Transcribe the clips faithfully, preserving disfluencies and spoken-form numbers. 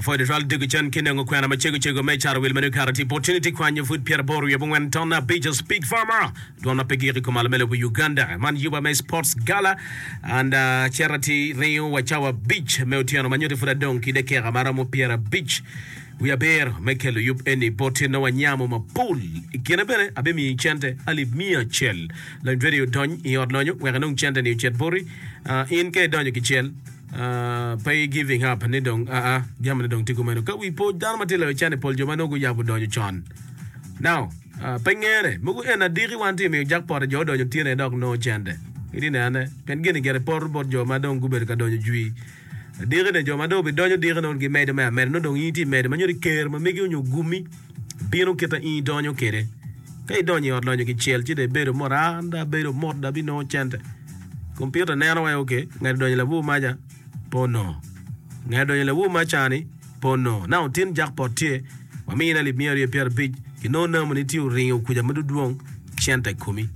Afodo twal dugu cen ki nongo kwena macego cego me caro wil meno kare ti opportunity kwanyo pud pyeraboro wiye abongwen ton abic Speak Farmer dwon ma pe gik i kom malo me lobo Uganda man yuba me Sports Gala and uh, cera ti ringo wa cawa abic me otyeno ma nyuto pud adong ki dakika maromo pyerabic wiye abiro me kelo yub eni boti nongo wanyamo mapol i kine bene abimiyi cente alip miya acel lony radio dony i ot lonyo wek inong cente ni ocit boti uh, in ka idonyo kicel Uh, pe giving up ni dong aa uh, jami ni dong tye kumeno ka wi po dano ma tye loyo cene pol jo ma nongo guyabo donyo con now uh, pe ngene mogo en adiki wan tye miyo jackpot jo odonyo tyene dok nongo cente iti nene pien gini gire poto bot jo ma dong gubedo ka donyo jwi diki ne jo ma dong obidonyo diki nongo gimedo me ameda nongo dong in itye medo ma nyuto ker ma megi onyo gumi bino kita in idonyo kede ka idonyo i ot lonyo kicel ci dong ibedo mot an dong abedo mot dong abinongo cente kompiuta neno wa ok ngati donyo labur maca pe onongo ngati donyo labur maca-ni pe onongo now tin jackpot tye wamine alip miya aryo pyerabic kinongo namba ni tye oringo kuca ma dudwong cente i komi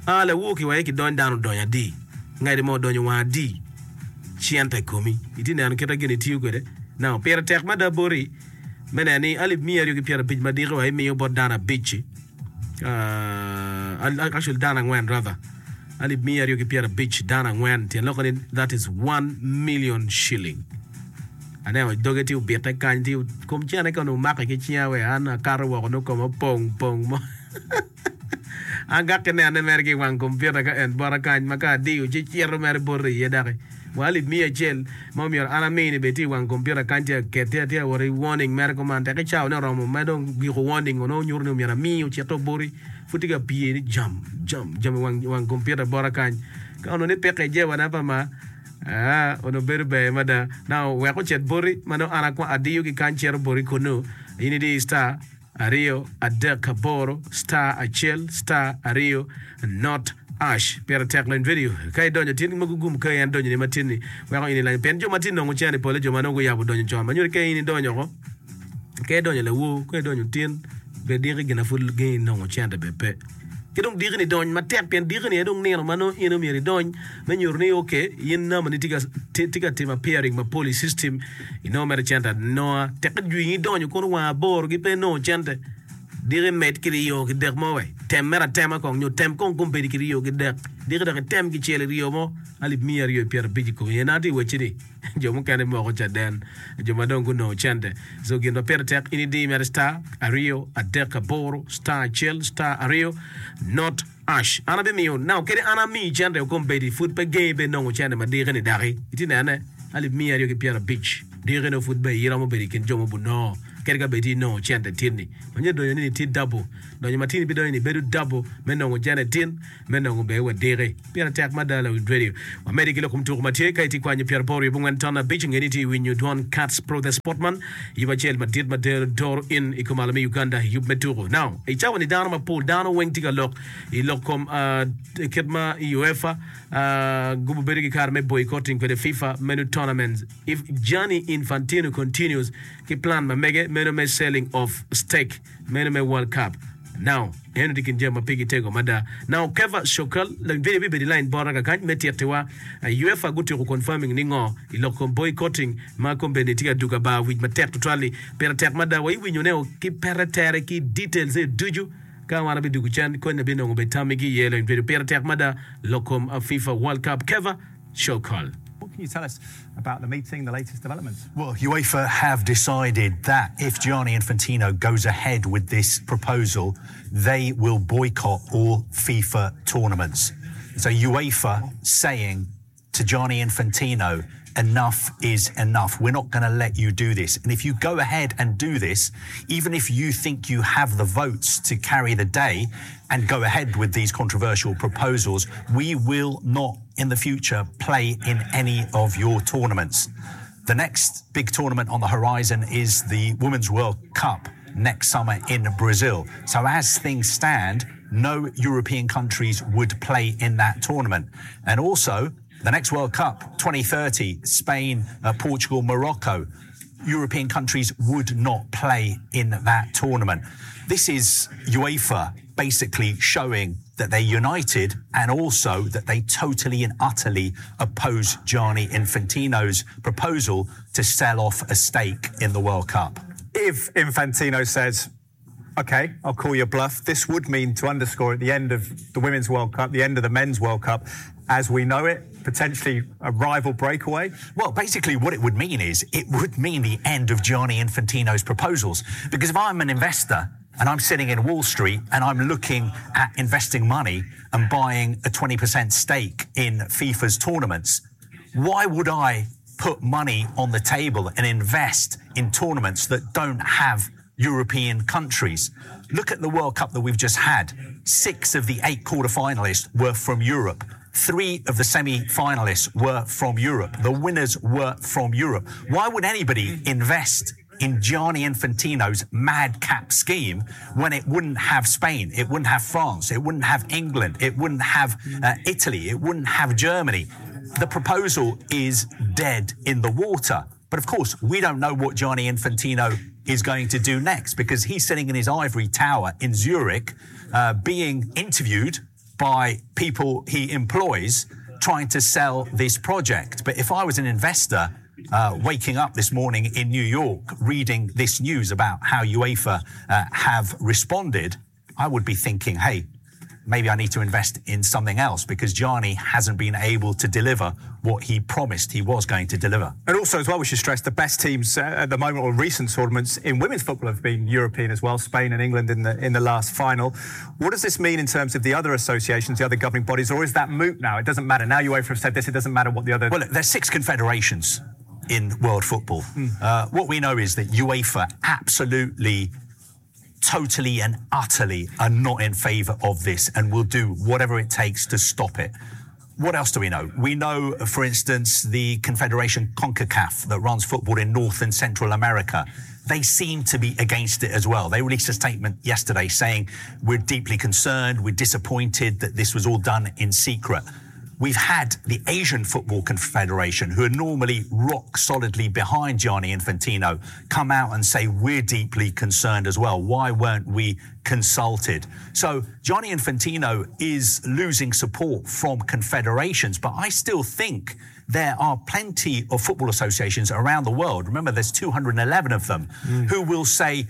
a lawur kiwaye kidony dano odonyo adi ngati mo odonyo wang adi cente i komi itye neno kita gini tiyo kwede now pire tek mada boti me neno ni alip miya aryo ki pyerabic ma diki wa imiyo bot dano abic-ci uh, actually dano angwen rather alip miya aryo ki pyerabic dano angwen tyen loko ni that is one million shilling aneno doge tye obite kany tye kom cene ka onongo omake ki cinga we an akato woko nongo koma opong pong mo an gak ki nene mere ki i wang kompiuta ka en bota kany ma ka adiyo ci cito mere boti iye daki wa alip miya acel ma omyero an amini bene tye i wang kompiuta kany tye akete tye awot i warning mere kuman tek i cawa ne oromo ma dong giko warning onongo nyuto ni omyero ami ocito boti pud tye ka pye ni jam jam jam i wang, wang kompiuta bota kany ka onongo ni peke ijewana pa ma Ah, onongo bedo ber mada. Now, wek ocit boti, ma nongo an akwa adiyo ki kany cito boti kunu. In idi star aryo adek aboro star acel star aryo not ash. Pire tek lony video. Ka idonyo tin mogo gum ka en donyo ni matin ni weko in ilanyo. Pien jo ma tye nongo cene pole jo ma nongo guyabo donyo con. Ma nyuto ka in idonyo ko, ka idonyo lawo, ka idonyo tin, be diki gina pud gengi nongo cente be pe. Ki dong diki ni dony matek pien diki ni aye dong nino ma nongo in omyero idony me nyuto ni ok in namba ni tye ka tye ka timo appearing mapol i system inongo mere cente anonga tekke jwingi idonyo kono wang aboro gi pe inongo cente diki med ki ryo ki dek mo we tem mere atema kong nyo tem kong kombeddi ki ryo ki dek diki dok item kicel i ryo mo alip miya aryo pyerabic i komi en atye wacci ni jo mukene moko caden jo ma dong gunongo cente so gin ma pire tek in idi mere star aryo adek aboro star acel star aryo not ash an abimiyo now kede an amiyi cente okombeddi pud pe gengi be nongo cente ma diki ni daki iti nene alip miya aryo ki pyerabic diki no pud be iromo bedo i kin jo mubunongo kede ka bed inongo cente tin-ni manyo donyo ni tye double donyo ma tin ibidonyo ni bedo double me nongo cente tin me nongo be wa diki pire tek mada lawiny radio wamedi ki lok kom tuko ma tye ka itye kwanyo pyeraboro wiye abongwen ton abic ngeni tye i winyo dwon Cats Pro the Sportman yub acel madit ma dero doro in i kom alo me Uganda yub me tuko now i cawa ni dano mapol dano weng tye ka lok i lok kom uh, kit ma UEFA uh, gubo bedo ki kare me boycotting kwede FIFA menu tournaments if Gianni Infantino continues ki plan ma mege meno me selling of stake meno me World Cup now eno tye kin jami ma pigi tego mada now Keva Shokal video bibedo i line bota kakany me titiwa uh, UEFA gutyeko confirming ni ngo i lok kom boycotting ma kombeddi tye ka duga bar wic matek tutwal-li pire tek mada wa iwinyo ne ki pete tere ki details e ducu ka wan abidugo cen kony abinongo be tamigi iye lony video pire tek mada lok kom uh, FIFA World Cup Keva Shokal What can you tell us about the meeting, the latest developments? Well, UEFA have decided that if Gianni Infantino goes ahead with this proposal, they will boycott all FIFA tournaments. So UEFA saying to Gianni Infantino, enough is enough. We're not going to let you do this. And if you go ahead and do this, even if you think you have the votes to carry the day and go ahead with these controversial proposals, we will not in the future play in any of your tournaments. The next big tournament on the horizon is the Women's World Cup next summer in Brazil. So as things stand, no European countries would play in that tournament. And also, the next World Cup, twenty thirty, Spain, uh, Portugal, Morocco, European countries would not play in that tournament. This is UEFA basically showing that they're united and also that they totally and utterly oppose Gianni Infantino's proposal to sell off a stake in the World Cup. If Infantino says, okay, I'll call your bluff, this would mean, to underscore, at the end of the Women's World Cup, the end of the Men's World Cup, as we know it, potentially a rival breakaway? Well, basically what it would mean is it would mean the end of Gianni Infantino's proposals. Because if I'm an investor and I'm sitting in Wall Street and I'm looking at investing money and buying a twenty percent stake in FIFA's tournaments, why would I put money on the table and invest in tournaments that don't have European countries? Look at the World Cup that we've just had. Six of the eight quarterfinalists were from Europe. Three of the semi-finalists were from Europe. The winners were from Europe. Why would anybody invest in Gianni Infantino's madcap scheme when it wouldn't have Spain, it wouldn't have France, it wouldn't have England, it wouldn't have, uh, Italy, it wouldn't have Germany? The proposal is dead in the water. But of course, we don't know what Gianni Infantino is going to do next, because he's sitting in his ivory tower in Zurich, uh, being interviewed by people he employs, trying to sell this project. But if I was an investor, uh, waking up this morning in New York, reading this news about how UEFA, uh, have responded, I would be thinking, hey, maybe I need to invest in something else, because Gianni hasn't been able to deliver what he promised he was going to deliver. And also as well, we should stress the best teams, uh, at the moment or recent tournaments in women's football have been European as well, Spain and England in the in the last final. What does this mean in terms of the other associations, the other governing bodies, or is that moot now? It doesn't matter. Now UEFA have said this, it doesn't matter what the other... Well, look, there's six confederations in world football. Mm. Uh, what we know is that UEFA absolutely, totally and utterly are not in favour of this and will do whatever it takes to stop it. What else do we know? We know, for instance, the Confederation CONCACAF that runs football in North and Central America. They seem to be against it as well. They released a statement yesterday saying, we're deeply concerned, we're disappointed that this was all done in secret. We've had the Asian Football Confederation, who are normally rock solidly behind Gianni Infantino, come out and say, we're deeply concerned as well. Why weren't we consulted? So Gianni Infantino is losing support from confederations, but I still think there are plenty of football associations around the world. Remember, there's two hundred and eleven of them Mm. who will say,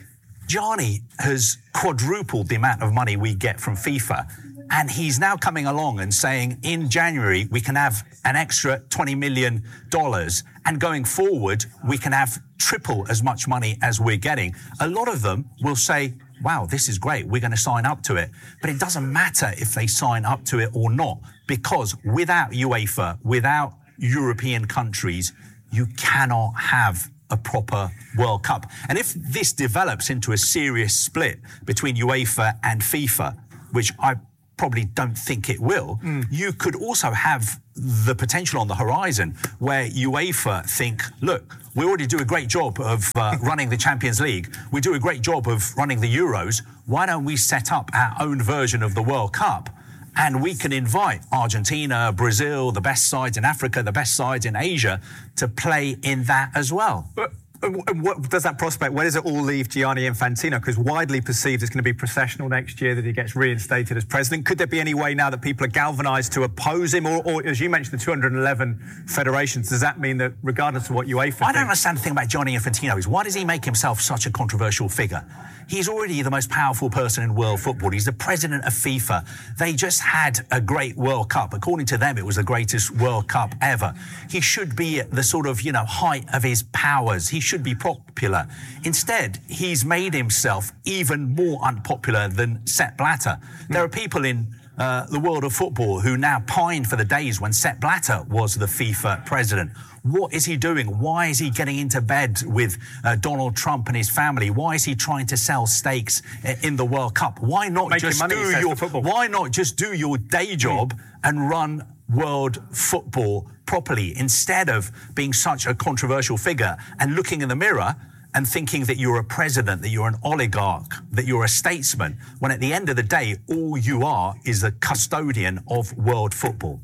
Gianni has quadrupled the amount of money we get from FIFA. And he's now coming along and saying in January, we can have an extra twenty million dollars. And going forward, we can have triple as much money as we're getting. A lot of them will say, wow, this is great. We're gonna sign up to it. But it doesn't matter if they sign up to it or not, because without UEFA, without European countries, you cannot have a proper World Cup. And if this develops into a serious split between UEFA and FIFA, which I probably don't think it will, Mm. you could also have the potential on the horizon where UEFA think, look, we already do a great job of, uh, running the Champions League. We do a great job of running the Euros. Why don't we set up our own version of the World Cup? And we can invite Argentina, Brazil, the best sides in Africa, the best sides in Asia to play in that as well. But and what does that prospect, where does it all leave Gianni Infantino? 'Cause widely perceived it's gonna be processional next year that he gets reinstated as president. Could there be any way now that people are galvanised to oppose him? Or, or as you mentioned, the two hundred and eleven federations, does that mean that regardless of what UEFA I don't thinks understand the thing about Gianni Infantino is why does he make himself such a controversial figure? He's already the most powerful person in world football. He's the president of FIFA. They just had a great World Cup. According to them, it was the greatest World Cup ever. He should be at the sort of, you know, height of his powers. He should be popular. Instead, he's made himself even more unpopular than Sepp Blatter. There are people in, uh, the world of football who now pine for the days when Sepp Blatter was the FIFA president. What is he doing? Why is he getting into bed with, uh, Donald Trump and his family? Why is he trying to sell stakes, uh, in the World Cup? Why not Making just money, he do says, your for football. Why not just do your day job and run world football properly instead of being such a controversial figure and looking in the mirror and thinking that you're a president, that you're an oligarch, that you're a statesman, when at the end of the day, all you are is the custodian of world football.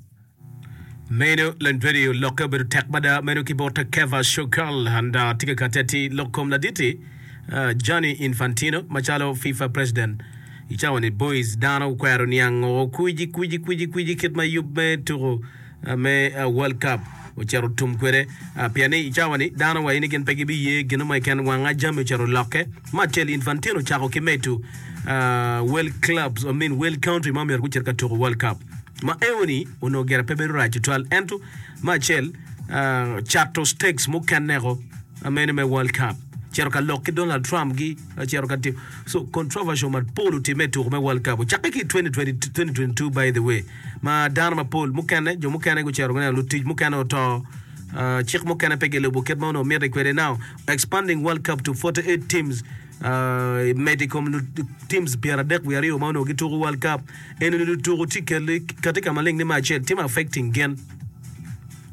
Meno Lendredio lokke obedo tek mada meno ki bot Keva Shokal and, uh, tye ka kati ati lok kom laditi, uh, Gianni Infantino macalo FIFA president I cawa ni boys dano okwero niango kwiji kwiji kwiji kwiji kit ma yub me tuko me World Cup ocito tum kwede pien ni i cawa ni dano wa ni gin pe gibiye gino mo keken wanga jami ocito lokke. Ma acel Infantino ocako ki medo wel clubs I mean wel country ma myero gucit ka tuko World Cup ma eoni onongo gire pe bedo rac tutwal ento ma acel cato stakes mukene-ko mene me World Cup cito ka lok ki Donald Trump gi cito ka timo so controversial mapol otimme i tuko me World Cup ocakke ki i twenty twenty two by the way ma dano mapol mukene jo mukene gucito guneno lutic mukene oto cik mukene pe gilubo kit ma onongo mitte kwede now expanding World Cup to forty eight teams medo i kom teams pyeradek wiye aryo ma onongo gituko World Cup eni lutuko tye kati ka maleng ni me acel tye ma affecting gin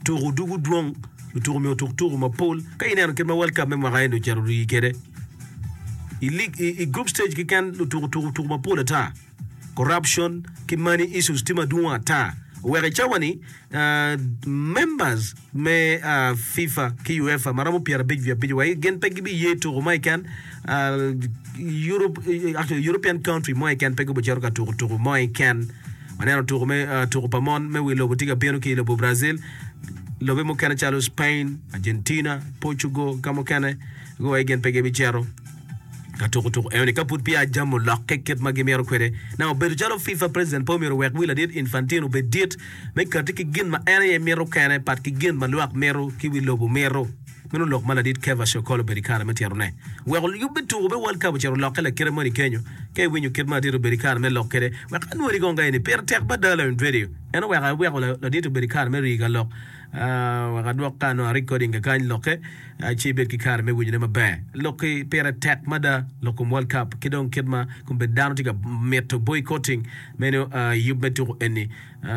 tuko dugu dwong lutuko myero otuk tuko mapol ka ineno kit ma World Cup me mwaka eni ocito orii kwede i league i group stage keken lutuko tuko tuko mapol ata corruption ki money issues tye madwong ata oweko i cawa ni members me FIFA ki UEFA ma romo pyerabic wiye abic wa gin pe gibiye tuko mo keken Europe actually European country mo keken pe gubicito ka tuko tuko mo keken waneno tuko me tuko pa mon me wi lobo tye ka bino ki i lobo Brazil lobe mukene calo Spain, Argentina, Portugal ka mukene guwaci gin pe gibicito ka tuko tuko enoni ka pud peya jami olokke kit ma gimito kwede. Na obedo calo FIFA president pe omyero owek wi ladit Infantino obed dit me kati ki gin ma en aye mito kene pat ki gin ma lwak mito ki wi lobo mito. Meno lok ma ladit Kevas Okol obedo i kare me tyerone. Weko yub me tuko me World Cup ocito olokke lakite moni kenyo. Ka iwinyo kit ma ladit obedo i kare me lok kwede, wek anwori kong ka eni pire tek mada lawiny radio. En oweko aweko ladit obedo i kare me rii ka lok. Wek adwok ka anongo recording kakany lokke ci ibed ki kare me winyone maber. Lokki pire tek mada lok kom World Cup ki dong kit ma kombeddi dano tye ka mito boycotting meno yub me tuko eni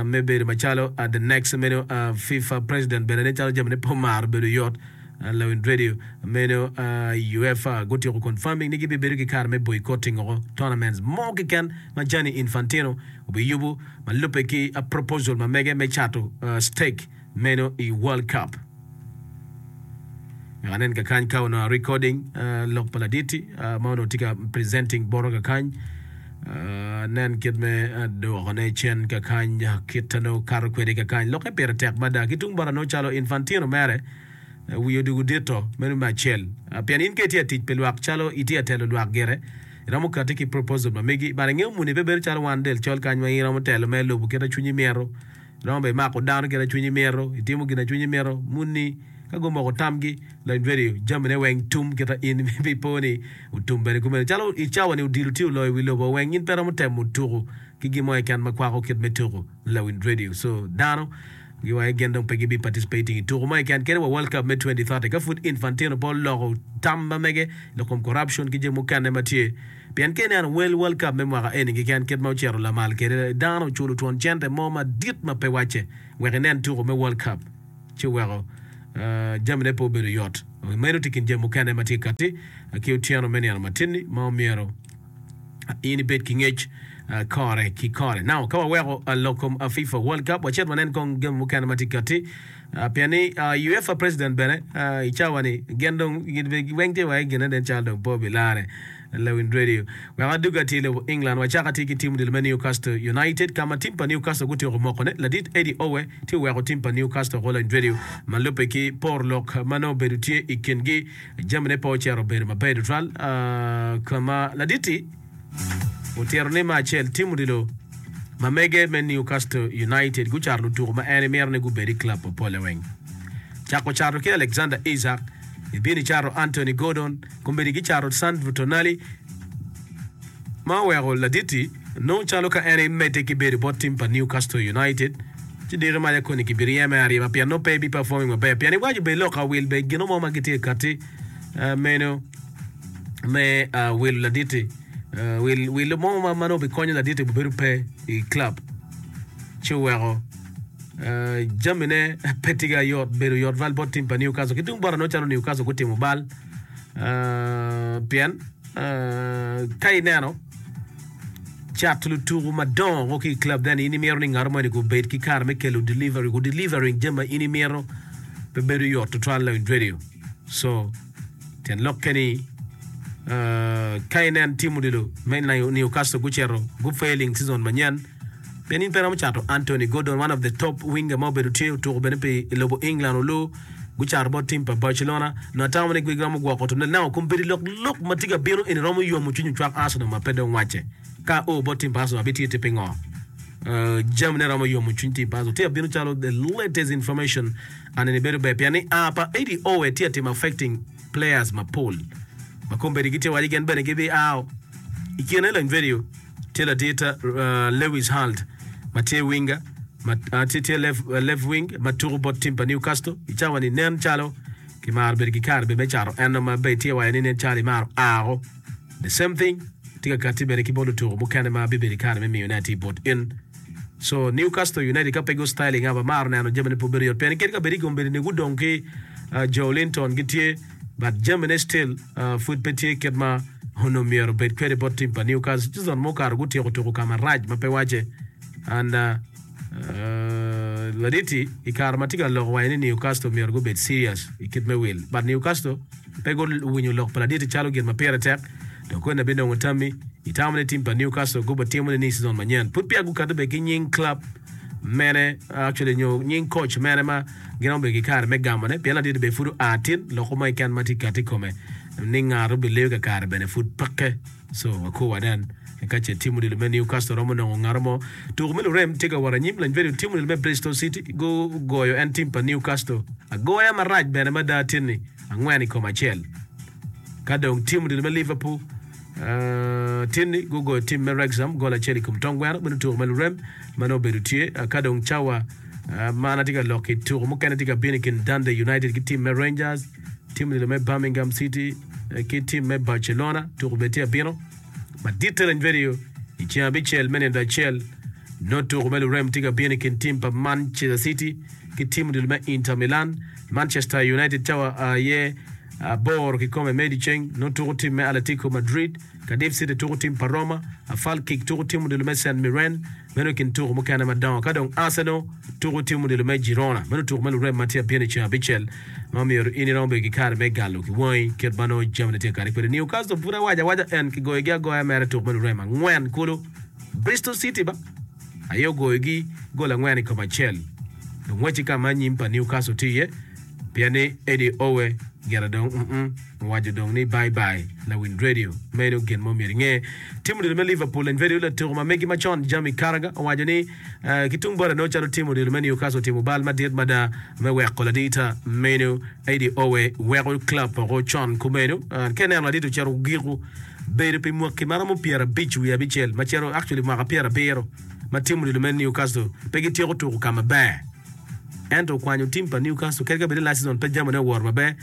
me bedo macalo the next meno FIFA president bene nen calo jamine pe omaro bedo yot. Lawiny radio meno UEFA gutyeko confirming ni gibibedo ki kare me boycotting oko tournaments mo keken ma Gianni Infantino obiyubo ma lubbe ki proposal ma mege me cato stake meno i World Cup. Wek anen kakany ka onongo recording lok pa laditi ma onongo tye ka presenting bota kakany nen kit me dwokone cen kakany kit nongo kato kwede kakany lokke pire tek mada ki tung bota nongo calo Infantino mere wiye odwogo dito meno me acel pien in ka itye atic pi lwak calo itye atelo lwak gire iromo kati ki proposal ma megi but ingeyo muni pe bedo calo wan del col kany ma in iromo telo me lubo kit ma cwinyi mito iromo bene imako dano kit ma cwinyi mito itimo gin ma cwinyi mito muni ka gumoko tamgi lony radio jamine weng tum kit ma in ipo ni otum bene kumeno calo i cawa ni odilo tye oloyo wi lobo weng in pe iromo temo tuko ki gin mo keken ma kwako kit me tuko lawiny radio so dano giwaco gin dong pe gibi participating i tuko mo keken kadi wa World Cup me twenty thirty ka pud Infantino pe oloko tam ma mege lok kom corruption ki jami mukene ma tye pien ka ineno wel World Cup me mwaka eni keken kit ma ocito lamal kwede dano oculo twon cente mo madit ma pe wacce wek inen tuko me World Cup ci oweko jamine pe obedo yot meno tye kin jami mukene ma tye kati ki otyeno me nino matinni ma omyero in ibed ki ngec kore ki kore. Now, ka waweko lok kom FIFA World Cup, wacit wanen kong jami mukene ma tye kati. Pien ni UEFA president bene i cawa ni gin dong weng tye wa gine nen calo dong pe obilare lawiny radio. Wek adwogi atir i lobo England, wacako atir ki tim odilo me Newcastle United ka ma tim pa Newcastle gutyeko mokone. Ladit Eddie Howe tye oweko tim pa Newcastle oko lawiny radio ma lubbe ki por lok ma nongo obedo tye i kingi. Jamine pe ocito obedo maber tutwal ka ma ladit-ti otito ni me acel tim odilo ma mege me Newcastle United gucato lutuku ma en emito ni gubed i club mapole weng. Cako cato ki Alexander Isak, ibino icato Anthony Gordon, kombeddi gicato Sandro Tonali ma oweko ladit-ti nongo calo ka en emedde ki bedo bot tim pa Newcastle United ci diki maca koni kibiryeme aryema pien nongo pe ebi performing maber pien iwaco bene lok awil bene gino mo ma gitye ka katti meno me wilo ladit-ti. Wilo mo ma nongo bikonyo ladit-ti obedo pe i club ci oweko jamine pe tye ka yot bedo yot val bot tim pa Newcastle. Ki tung bota nongo calo Newcastle gutimo bal pien ka ineno cato lutuku madongo ki i club then in imito ni ngat moni gubed ki kare me kelo delivery gu delivering jami ma in imito pe bedo yot tutwal lawiny radio so tyen lokke ni Ka inen tim odilo me Newcastle gucito gu failing season manyen pien in pe iromo cato Anthony Gordon one of the top winger ma obedo tye otuko bene pi lobo England olu gucato bot tim pa Barcelona nongo atamo ni giromo gwoko Tonali now kombeddi lok lok ma tye ka bino eni romo yomo cwiny ocwak Arsenal ma pe dong wacce ka o bot tim pa Arsenal abitye tye pingo jamine romo yomo cwiny tim pa Arsenal tye ka bino calo the latest information and eni bedo ber pien ni a pa Eddie Howe tye ka timo affecting players mapol ma kombeddi gitye waci gin bene gibia i kine lony vedio tye ladit Lewis Hall ma tye winger ma tye left wing ma tuko bot tim pa Newcastle i cawa ni nen calo kimaro bedo ki kare me cato eno ma be tye waco ni nen calo imaro ao the same thing tye ka kati bene ki bot lutuko mukene ma bibedo i kare me miyone atir bot in so Newcastle United ka pe gu styling up amaro neno jamine pe obedo yot pien kadi ka bed i kombeddi ni gudong ki Joelinton gitye but jamine still pud pe tye kit ma onongo myero obed kwede bot tim pa Newcastle season mukato gutyeko tuko ka marac ma pe wacce and laditi i kare ma tye ka loko waco ni Newcastle myero gubed serious i kit me wil but Newcastle pe guwinyo lok pa laditi calo gin ma pire tek dok kweni abinongo tammi itamo ni tim pa Newcastle gubitimo ni season manyen pud peya gukato bene ki nying club mene actually nyo nying coach mene ma gin romo bedo ki kare me gamone pien laditi bene pud oa tin loko mo keken ma tye kati i kome ni ngat obileyo kakare bene pud peke so wakur wanen ka ce tim odilo me Newcastle romo nongo ngat mo tuko me lurem tye ka wot anyim lany vedio tim odilo me Bristol City gugoyo en tim pa Newcastle agoya marac bene mada tin-ni angwen i kom acel ka dong tim odilo me Liverpool tin-ni gugoyo tim me Wrexham gol acel i kom tong gweno meno tuko me lurem ma nongo obedo tye ka dong cawa man atye ka lok i tuko mukene tye ka bino i kin Dundee United ki tim me Rangers tim odilo me Birmingham City ki tim me Barcelona tuko bene tye abino madit lany vedio i ceng abicel me nindo acel nongo tuko me lurem tye ka bino i kin tim pa Manchester City ki tim odilo me Inter Milan Manchester United cawa aye aboro kikome me dyeceng nongo tuko tim me Atletico Madrid Cardiff City tuko tim pa Roma Falkirk tuko tim odilo me St Mirren meno i kin tuko mukene madongo ka dong Arsenal tuko tim odilo me Girona meno tuko me lurem ma tye abino i ceng abicel ma myero in iromo bedo ki kare me galo ki wangi kit ma nongo jamine tye ka kati kwede Newcastle pud awaco awaca en kigoyogi agoya mere tuko me lurem angwen kulu Bristol City ba aye ogoyogi gol angwen i kom acel dong wacci ka ma anyim pa Newcastle tye iye pien ni Eddie Howe gire dong mm owaco dong ni bye bye lawin radio meno gin mo myero inge tim odilo me Liverpool lany vedio latuko ma megi macon Jamie Carragher owaco ni ki tung bote nongo calo tim odilo me Newcastle otimo bal madit mada me weko ladita meno Eddie Howe weko club oko con kumeno ka ineno ladit ocito ogiko bedo pi mwaki maromo pyerabic wiye abicel ma cito actually mwaka pyerabiro ma tim odilo me Newcastle pe gityeko tuko ka maber ento okwanyo tim pa Newcastle kadi ka bed ni last season pe jamine owoto maber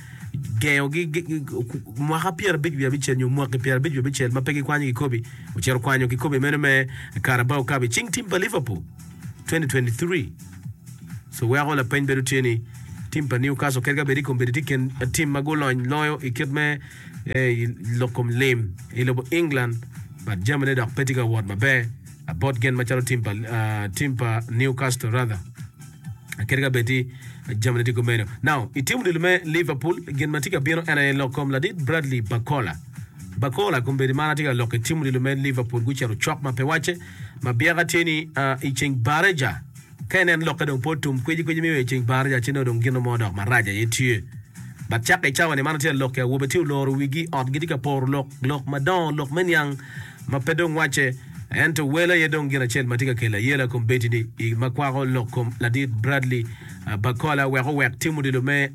gengogi mwaka pyerabic wiye abicel nyo mwaki pyerabic wiye abicel ma pe gikwanyo kikobi ocito okwanyo kikobi meno me Carabao Cup i cing tim pa Liverpool twenty twenty-three so weko lapeny bedo tye ni tim pa Newcastle kadi ka bed i kombeddi tye kin tim ma gulony loyo i kit me lok kom lim i lobo England but jamine dok pe tye ka wot maber bot gin macalo tim pa tim pa Newcastle rather kadi ka bed ni jamine tye kumeno. Now, i tim odilo me Liverpool, gin ma tye ka bino en aye lok kom ladit Bradley Barcola. Barcola kombeddi man atye ka lok i tim odilo me Liverpool gucito cok ma pe wacce ma byeka tye ni i ceng Bareja. Ka inen lokke dong pe otum kwici kwici miyo i ceng Bareja ci nongo dong gin mo dok marac aye tye. But cakke i cawa ni man atye ka lok ki awobe tye oloro wigi i ot gitye ka poro lok, lok madongo, lok me niang ma pe dong wacce. Ento wel aye dong gin acel ma tye ka kelo ayela kombeddi ni i ma kwako lok kom ladit Bradley Barcola wek owek tim odilo me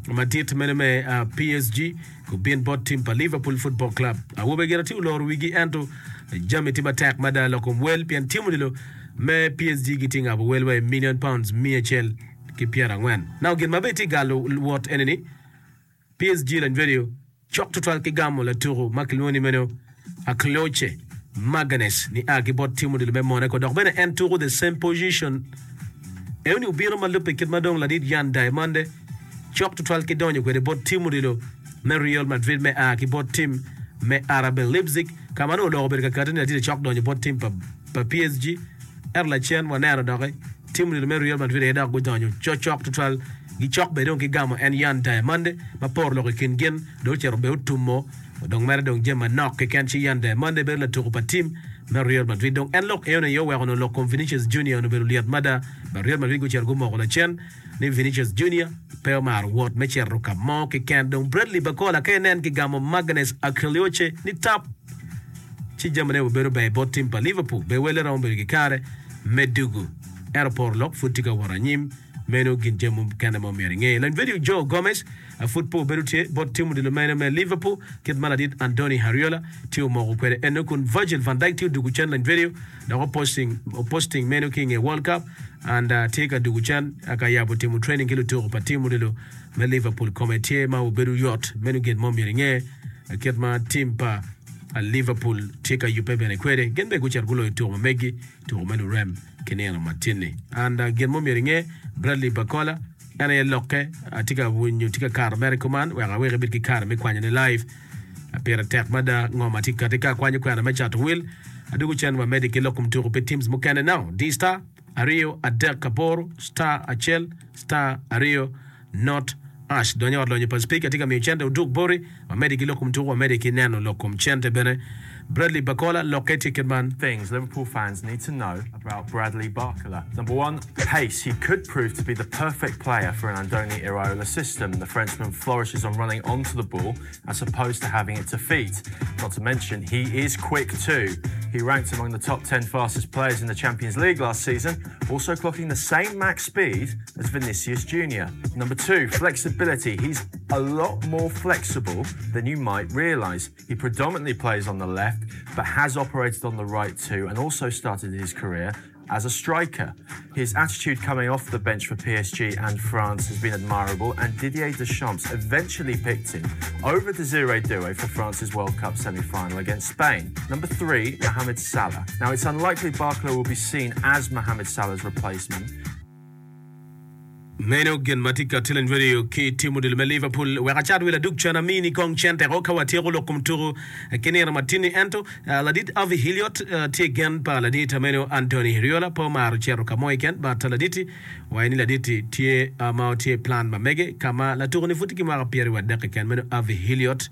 madit meno me P S G gubin bot tim pa Liverpool Football Club. Awobe gire tye oloro wigi ento jami tye matek mada lok kom wel pien tim odilo me P S G gitye ngabo wel wa i million pounds miya acel ki pyerangwen. Now gin ma bene tye galo wot eni ni P S G lanyvedio cok tutwal ki gamo latuko ma kilwongo ni meno Akloche Magalhaes ni a ki bot tim odilo me Monaco dok bene en tuko the same position. Eoni obino ma lubbe kit ma dong ladit Yan Diamande cok tutwal ki donyo kwede bot tim odilo me Real Madrid me a ki bot tim me R B Leipzig ka ma nongo oloko obedo kakati ni ladit cok donyo bot tim pa, pa P S G ento lacen waneno doki tim odilo me Real Madrid aye dok gudonyo cocok tutwal gicok bene dong ki gamo en Yan Diamande ma poro lok i kin gin dong ocito bene otumo Odong mere dong jami manok keken ci yande Monday bedo latuko pa tim me Real Madrid. Dong en lok enoni aye oweko onongo lok kom Vinicius Junior onongo obedo lyet mada but Real Madrid gucito gumoko lacen ni Vinicius Junior pe omaro wot me cito ka mo keken. Dong Bradley Barcola ka inen kigamo Magness Akilioche ni tap ci jamine obedo ber bot tim pa Liverpool. Be welle romo bedo ki kare me dugu. Ento poro lok pud tye ka wot anyim. Meno gin jami mukene ma omyero inge. Lany vedio Joe Gomez pud pe obedo tye bot tim odilo mene me Liverpool kit ma ladit Andoni Iraola tye omoko kwede eno kun Virgil van Dijk tye odugu cen lany vedio dok oposting oposting meno ki inge World Cup and tye ka dugu cen ka yabo timo training ki lutuku pa tim odilo me Liverpool kome tye ma obedo yot meno gin ma omyero inge kit ma tim pa Liverpool tye ka yubbe bene kwede. Gin bene gucito guloyo tuko ma megi tuko me lurem ki nino matin-ni. And gin ma omyero inge, Bradley Barcola en aye lokke atye ka winyo tye ka kato mere kuman wek awek ibed ki kare me kwanyone live. Pire tek mada ngo ma tye ka kati ka akwanyo kwena me cato wil. Adwogo cen wamedde ki lok kom tuko pi teams mukene now. D star aryo adek aboro star acel star aryo not ash. Donyo ot lonyo pa speaker tye ka miyo cente oduk boti. Wamedde ki lok kom tuko wamedde ki neno lok kom cente bene. Bradley Barcola lokke tye kit man. Things Liverpool fans need to know about Bradley Barcola. Number one, pace. He could prove to be the perfect player for an Andoni Iraola system. The Frenchman flourishes on running onto the ball as opposed to having it to feet. Not to mention, he is quick too. He ranked among the top ten fastest players in the Champions League last season, also clocking the same max speed as Vinicius Junior Number two, flexibility. He's a lot more flexible than you might realise. He predominantly plays on the left, but has operated on the right too, and also started his career as a striker. His attitude coming off the bench for P S G and France has been admirable, and Didier Deschamps eventually picked him over Desiree Doué for France's World Cup semi-final against Spain. Number three, Mohamed Salah. Now, it's unlikely Barcola will be seen as Mohamed Salah's replacement. Meno gin ma tye ka tye radio ki tim odilo me Liverpool wek acat wil adug cen amini kong cen teko ka watyeko lok kom tuko ki nino matini ento ladit Harvey Elliott tye gen pa ladit meno Andoni Iraola pe omaro cito ka mo keken but laditi waye ni laditi tye ma tye plan ma mege ka ma latuko ni pud tye ki mwaka pyeri adek keken meno Harvey Elliott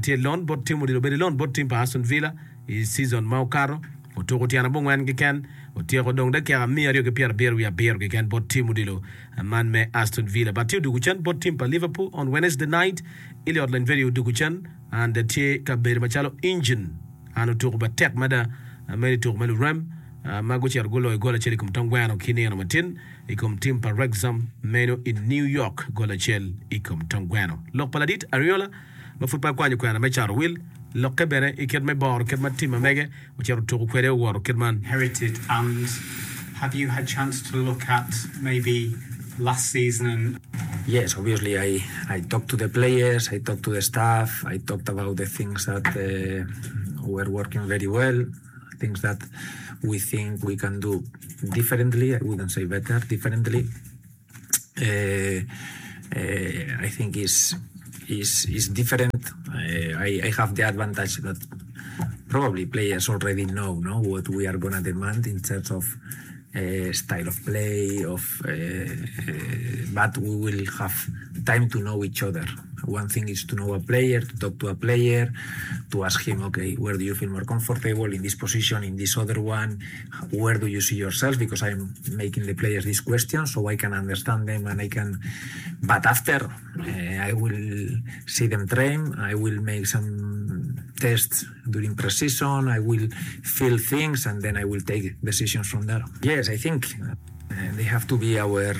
tye loan bot tim odilo bedo loan bot tim pa Aston Villa i season ma okato otuko tyena bongwen keken otyeko dong dakika miya aryo ki pyera abiro wiye abiro keken bot tim odilo man me Aston Villa but tye odugo cen bot tim pa Liverpool on Wednesday night Elliott lany very odugo cen and tye ka bedo macalo engine an otuko matek mada meno tuko me lurem ma gucito guloyo gol acel i kom tong gweno ki nino matin i kom tim pa Wrexham meno i New York gol acel i kom tong gweno lok pa ladit Iraola ma pud pe akwanyo kwena me cato wil lokke bene i kit me boro kit ma tim ma mege ocito tuko kwede owoto kit man. Inherited, and have you had chance to look at maybe last season? And Yes, obviously I, I talked to the players, I talked to the staff, I talked about the things that, uh, were working very well, things that we think we can do differently. I wouldn't say better, differently. Uh, uh, I think is, is, is different. Uh, I, I have the advantage that probably players already know, no, what we are gonna demand in terms of, uh, style of play, of, uh, uh, but we will have time to know each other. One thing is to know a player, to talk to a player, to ask him, okay, where do you feel more comfortable in this position, in this other one? Where do you see yourself? Because I'm making the players these questions so I can understand them and I can... But after, uh, I will see them train, I will make some tests during pre-season, I will feel things, and then I will take decisions from there. Yes, I think, uh, they have to be our,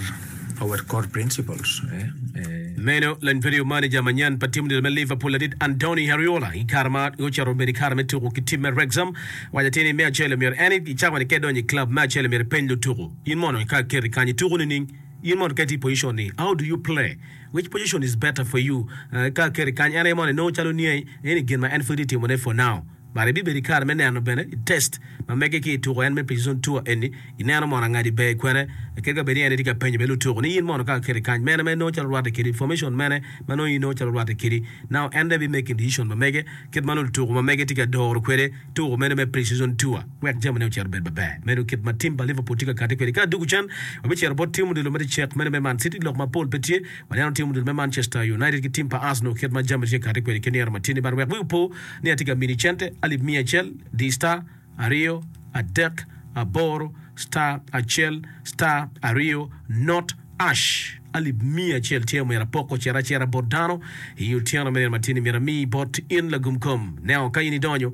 our core principles. Eh? Uh, Meno lany video manager manyen pa tim me Liverpool ladit Andoni Iraola i kare ma ocito bedo i kare me tuko ki tim me Wrexham waco atir ni me acel myero en i cawa ni ka idonyo i club me acel myero ipeny lutuko in mono ka keti kany ituko nining in mono ka itye i position ni how do you play which position is better for you uh, ka keti kany en aye mono inongo calo niye en i gin ma en pud tye timone for now But ibibedo i kare me neno bene i test ma mege ki i tuko en me pre-season tour eni ineno mono angadi ber kwene kadi ka bed ni en tye ka penyo bene lutuko ni in mono ka aketi kany mene ma inongo calo rwatte kedi formation mene ma nongo in inongo calo rwatte kedi now en dong bi making decision ma mege kit ma nongo lutuko ma mege tye ka doro kwede tuko mene me pre-season tour wek jamine ocit obed maber. Meno kit ma tim pa Liverpool tye ka kati kwede. Ka adwogo cen, wabicito bot tim odilo me cek mene me Man City. Lok mapol pe tye. Waneno tim odilo me Manchester United ki tim pa Arsenal kit ma jami tye ka kati kwede ki nino ma tye-ni. But wek wi opo ni atye ka mini cente alip miya acel di star aryo adek aboro star acel star aryo not ash. Alip miya acel tye omyero apok ocit acita bot dano i otyeno me nino ma tye-ni. Myero ami bot in lagum kom. Neno ka in idonyo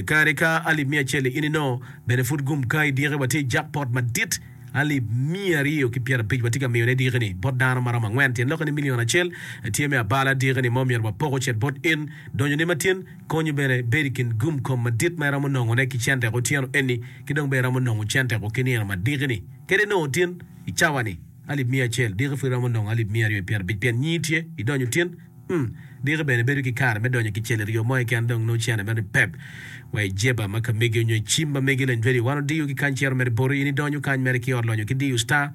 kadi ka alip miya acel-li in inongo bene pud gum ka idiki. Watye i jackpot madit alip miya aryo ki pyerabic watye ka miyone diki-ni bot dano ma romo angwen. Tyen lokke ni milion acel tye me abala diki-ni ma omyero wapok ocit bot in. Donyoni ma tyen konyo bene bedo i kin gum kom madit ma iromo nongone ki cente otyeno eni ki dong bene iromo nongo cente ki nino ma diki-ni. Kadi inongo tin i cawa-ni alip miya acel, diki pud iromo nongo alip miya aryo ki pyerabic pien nyingi tye idonyo tin. Mm. Diki bene bedo ki kare me donyo kicel i ryo mo keken dong nongo cene mere pep wa i jeba ma ka megi onyo i cim ma megi leny radio wan odiyo ki kany cito mere boti in idonyo kany mere ki ot lonyo ki diyo star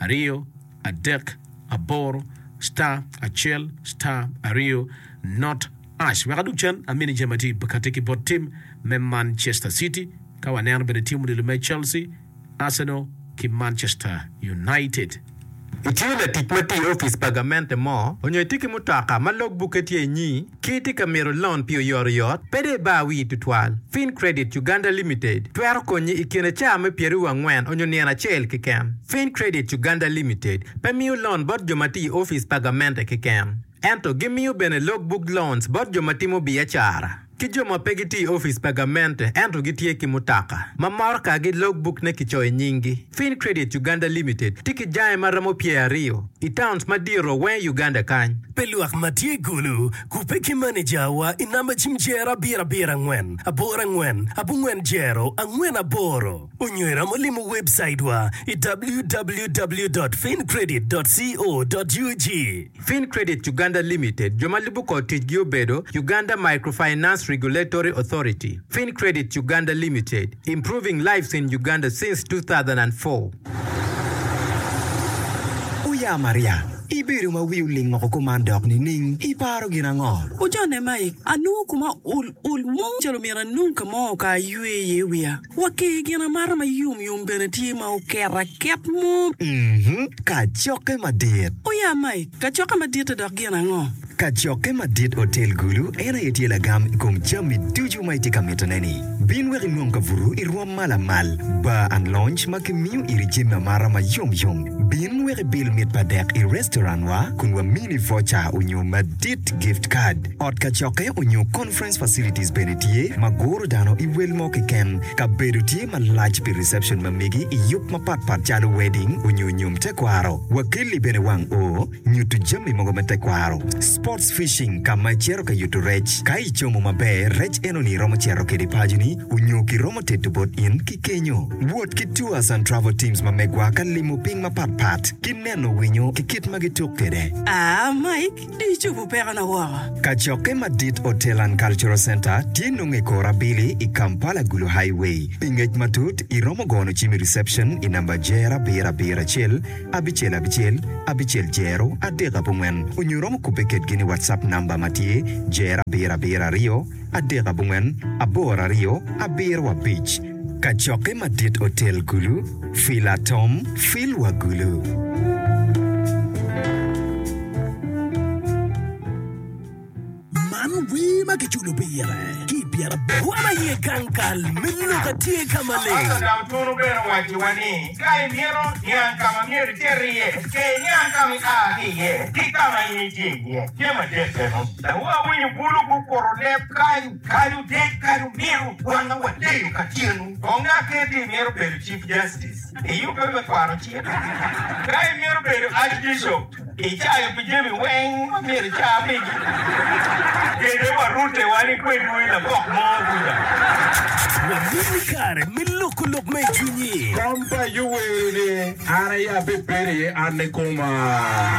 aryo adek aboro star acel star aryo not ash wek adug cen amini jami atye kati ki bot tim me Manchester City ka waneno bene tim odilo me Chelsea, Arsenal ki Manchester United. Itye latic ma tye i opic pa gamente mo, onyo itye ki mutoka ma logbukke tye inyi, ki itye ka mito lon pi oyotoyot, pe dong ibar wii tutwal. FinCredit Uganda Limited twero konyi i kine caa me pyeraryo angwen onyo nino acel keken. FinCredit Uganda Limited pe miyo lon bot jo ma tye i opic pa gamente keken, ento gimiyo bene logbook loans bot jo ma timo biacara ki jo ma pe gitye i opic pa gamente ento gitye ki mutoka ma morokagi logbook ne kicoyo i nyinggi. FinCredit Uganda Limited tye ki jange ma romo pyeraryo i towns madito weng i Uganda kany. Pe lwak ma tye i Gulu kubbe ki manejawa i namba cim jero abiro abiro angwen aboro angwen abongwen jero angwen aboro onyo iromo limo webcaitwa i w w w dot fincredit dot co dot ug. FinCredit Uganda Limited jo ma lubo kor ticgi obedo Uganda Microfinance Regulatory Authority. FinCredit Uganda Limited, improving lives in Uganda since two thousand four. Oya Maria, ibedo ma wi oling woko kuman dok nining? Iparo gin ango? Ojone Mike, anongo kuma ol ol mo calo myero anong ka mo ka aywe iye wiya. Wa ki gin amata ma yomyom bene tye ma oket aket mo. Mhm, kacokke madit. Oya Mike, kacokke madit dok gin ango? Kacokke madit Hotel Gulu en aye tye lagam i kom jami ducu ma itye ka mitone-ni. Bin wek inwong kabuto i rwom ma lamal, bar and lounge ma kimiyo iri jami amata ma yomyom. Bin wek ibil mit pa dek i restaurant wa kun wamini voucher onyo madit gift card. Ot kacokke onyo conference facilities bene tye ma guro dano i wel mo keken. Kabedo tye malac pi reception ma megi i yub mapatpat calo wedding onyo nyom tekwaro. Wakeli bene wang o nyuto jami mogo me tekwaro. Sports fishing ka ma icito ka yuto rec. Ka icomo maber, rec enoni romo cito kedi paconi onyo kiromo teto bot in ki kenyo. Wot ki tours and travel teams ma megwa ka limo piny mapatpat ki neno winyo ki kit ma gituk kede. Ah, Mike, di icobo pekona woko. Kacokke madit Hotel and Cultural Center tye nongo i kor abili i Kampala Gulu Highway. Pi ngec matut, iromo gono cim i reception i namba jero abiro abiro acel abicel abicel abicel jero adek abongwen onyo iromo kubbe kedgi ni WhatsApp namba ma tye jero abiro abiro aryo adek abongwen aboro aryo abiro abic. Kacokke madit Hotel Gulu, Fila Tom, Fil wa Gulu. Man wer ma kiculo pire ki i pyeraboro. Wan aye gang kal me lok atye ka maleng. Pastor Dautunu bene owacciwa ni, Ka imito niang ka ma myero icit iye, ke iniang ka ma ia ki iye ki ka ma in itye iye. Jami adek eno. Dong awinyo bulu gukuto leb kany, kany odek, kany omito, wanga waleyo ka tyenu. Kong aketi imito bedo Chief Justice, iyubbe me kwano cik. Ka imito bedo Archbishop, icayo pi jami weng ma myero ica pigi. Kede warute wan i kwedwu i labok mo kuca. Wamini kare me loko lok me i cwinyi. Kom pa Yoweri-ni iye, an aye abibedo iye an kikoma.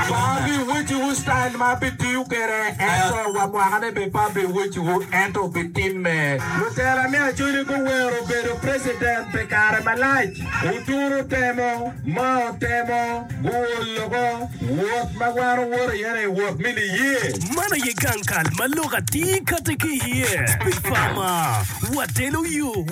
Pe abiwecciwu style ma abitiyo kwede, ento wa mwakane bene pe abiwecciwu, ento obitimme. Lutela me Acholi guwero bedo president pi kare malac. Oturu temo, Mao temo, guol loko, wot ma wan owoto iye-ni wot me niye. Man aye gang kal ma lok atir kati ki iye. Big Pharma, watelo yo.